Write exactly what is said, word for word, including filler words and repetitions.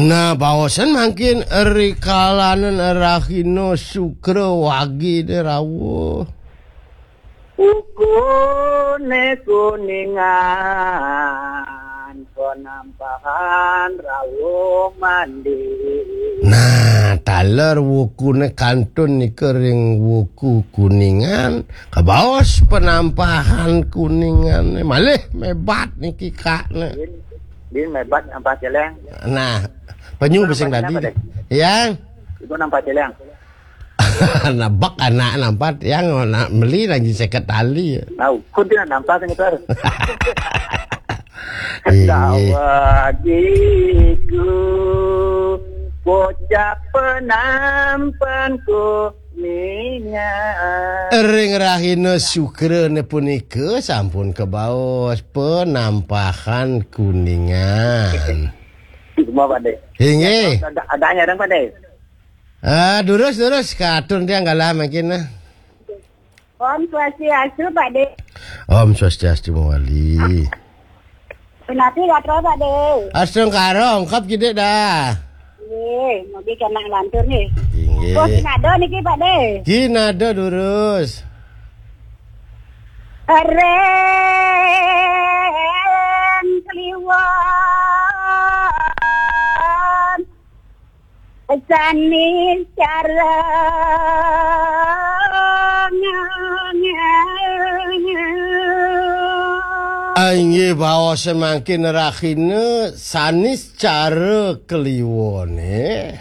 Nah, baosan mangkin ri kalanan rahina Sukra wagine rawuh. Wukune Kuningan, penampahan rawuh mandi. Nah, taler wukune kantun nika ring wuku Kuningan, kabaos penampahan Kuningane. Malih mebat niki kakne. Din, din mebat nampah celeng. Nah, penyu Ibu besing nampah tadi. Celeng, Pak, deh? Yang? Ibu nampah celeng. Nabek anak nampat yang nak meli lagi seket tali. Nah, kun dia nampah kan itu. Iya. Dawagiku, bocah penampan Kuningan. Ring rahina Sukrane punika sampun kabaos penampahan Kuningan. Semua, Pak De. Inggih. Ada, ada yang ada, Pak De. Ah, durus, durus. Katur tiang galah mangkin, nah. Om Swastiastu, Pak De. Om Swastiastu, Mawali. Punapi gatra, Pak De. Astungkara, ungkap kidik dah. Nggih, mugi kena lantur nggih. Inggih. Oh, kinada niki, Pak De. Kinada durus. Ring Kliwon, sanis cara Ah, inggih, baos mangkin rahina sanis cara Kliwone.